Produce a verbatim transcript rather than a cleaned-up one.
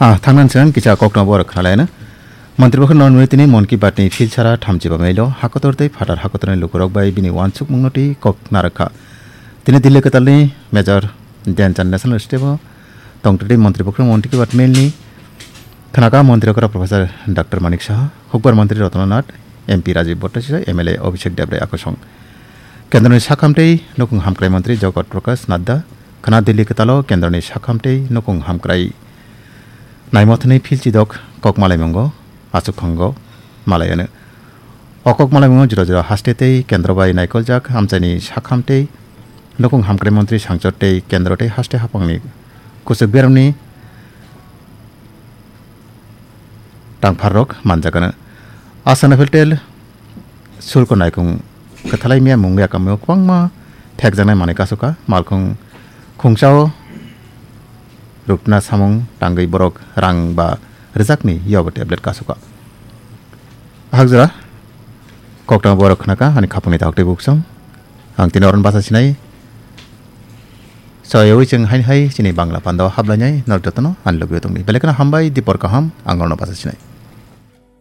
Ah, thangnan siang kisa kokno borok khnalayana. Mantri bokhorno nwi tini Mon Ki Baat ni philsara thamchiba mailo hakotor tei phatar hakotorni lukurok bai bini wansukmungno tei kok narwkha. Tini Delhi kwtalni Major Dhyan Chand National Stadium o tongtwtwi Mantri bokhorno Mon Ki Baat mail ni khnaka Mantri okra Professor Doctor Manik Saha, Hukbar Mantri Ratna Nath, M P Rajiv Bhattacharya, M L A Abhishek Debrai akosong. Kendroni sakham tei nukung hamkrai mantri Jagat Prakash Nadda khna Delhi kwtalo kendroni sakham tei nukung hamkrai naimothanwi philchidok kok malaimungo achukhango malaiano. O kok malaimungo jora jora haste tei kendro bai naikoljak amchaini sakham tei nukung hamkrai mantri sangchot tei kendro tei haste haphangni kuchuk beremni tangpharrok manjakano. Asana Filtel sulko naikung kwthalai miya mung ya kamio kwbangma thekjaknai manwi kasuka, malkhung khungsao rukna samung tangwi borok rang ba rwjakni yobo tablet kasuka. Hakjora koktang borok khnaka ani khapungni daktwi buksong. Ang tini oron basa sinai. Soyawi chwng hain hai chini Bangla pando hablainai norok jotono ani logio tongdi. Belai kheno hambai, dipor kaham, ang norno basa sinai.